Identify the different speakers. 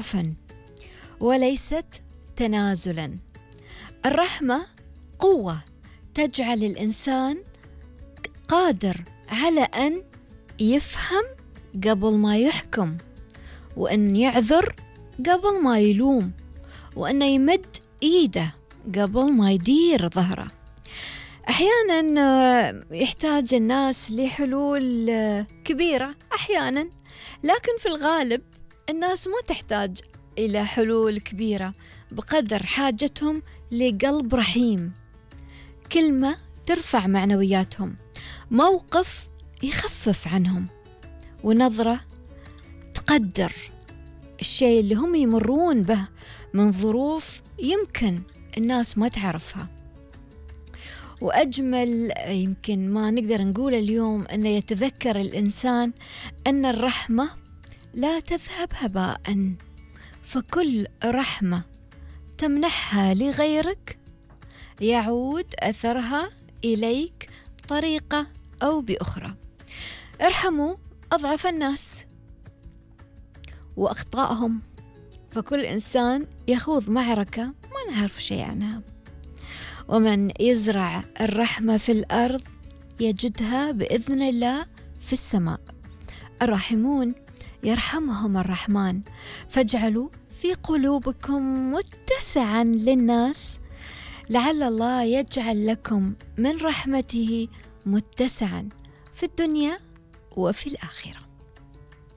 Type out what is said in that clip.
Speaker 1: ضعفا وليست تنازلا. الرحمة قوة تجعل الإنسان قادر على أن يفهم قبل ما يحكم، وأن يعذر قبل ما يلوم، وأن يمد إيده قبل ما يدير ظهره. أحيانا يحتاج الناس لحلول كبيرة أحيانا، لكن في الغالب الناس ما تحتاج إلى حلول كبيرة بقدر حاجتهم لقلب رحيم، كلمة ترفع معنوياتهم، موقف يخفف عنهم، ونظرة تقدر الشيء اللي هم يمرون به من ظروف يمكن الناس ما تعرفها. وأجمل يمكن ما نقدر نقول اليوم أن يتذكر الإنسان أن الرحمة لا تذهب هباء، فكل رحمة تمنحها لغيرك يعود أثرها إليك بطريقة أو بأخرى. ارحموا أضعف الناس وأخطائهم، فكل إنسان يخوض معركة ما نعرف شيء عنها، ومن يزرع الرحمة في الأرض يجدها بإذن الله في السماء. الراحمون يرحمهم الرحمن، فاجعلوا في قلوبكم متسعا للناس، لعل الله يجعل لكم من رحمته متسعا في الدنيا وفي الآخرة.